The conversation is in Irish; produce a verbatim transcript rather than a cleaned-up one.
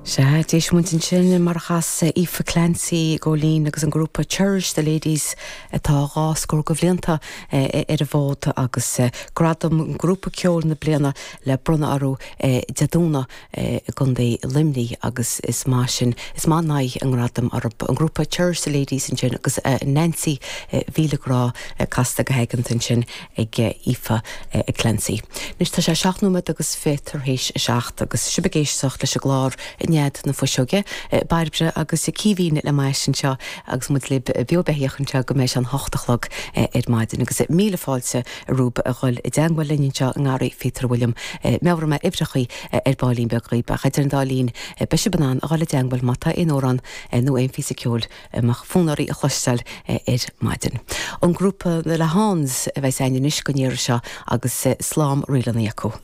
Sea, d'éist muid ansin mar a chas Aoife Clancy Góilín agus an grúpa Cherish the Ladies atá dhá scór de bhlianta ar an bhfód agus gradam grúpa ceoil na bliana le bronnadh orthu Dé Domhnaigh i gContae Luimnigh agus is maith sin is maith an aghaidh an gradam orthu an grúpa Cherish the Ladies ansin agus Nancy Mhíle Grá casta go haigeanta ansin ag Aoife Clancy. Anois tá sé seacht nóiméad agus fiche tar éis a seacht agus sibh ag éisteacht leis an gclár Nead na Fuiseoige, Bairbre agus Caoimhín le m'ais anseo agus muid libh beo beathach anseo go mbeidh sé an hocht a chlog ar maidin agus míle fáilte romhaibh a dhul i dteagmháil linn anseo i ngarraí Phíotair William meabhróidh mé uimhreachaí ar baillín beag dhaoibh ach idir an dá linn beidh sibh in ann a dhul i dteagmháil má tá aon amhrán nó aon phíosa ceoil a mbeadh fonn oraibh a chloisteáil ar maidin. An grúpa na Lehans a bheidh againn anois don iarraidh seo agus slám ríleanna acu.